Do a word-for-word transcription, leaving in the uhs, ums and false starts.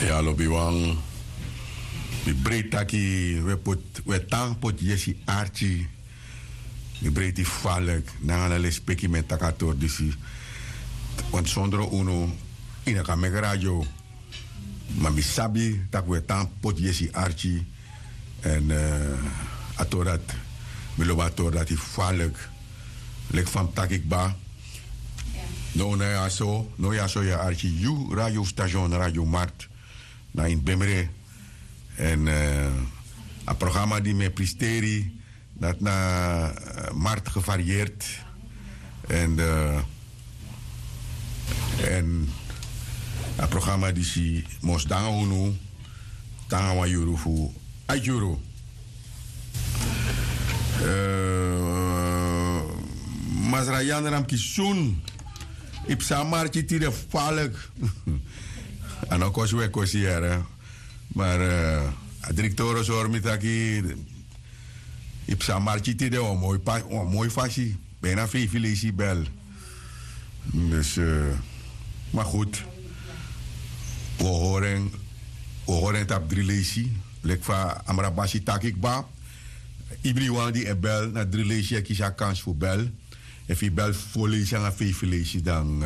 Ya lobiwan, mi breiti taki we poti we tan poti yesi arki. Mi breiti falek nanga na lespeki mi e taki a tori disi. Want sondro unu yu no kan meki radio. Ma mi sabi tak' we tan poti yesi arki. Èn a tori dati, mi lobi a tori dati falek. Leki fa mi taki kba. Now na ya so now ya so yu e arki yu radio station radio mart. Na ini bemre. Èn a programa di mi e pristeri dati na mart gevarieerd. Èn èn a programa disi mus de nanga unu te nanga wan yuru fu a yuru. Masra yandra mi kisun. Yu psa marki tide falek. A no kosi we kosi yere. Mar a direktoro sori mi taki yu psa marki tide wan moi fasi. Bina feifi leisi bel. Dus ma gud. Wi o hori en tapu dri leisi. Leki fa amra basi taki kba. Ibriwan di e bel na dri leisi e kisi a kansi fu bel. Efu yu bel fo leisi nanga feifi leisi dan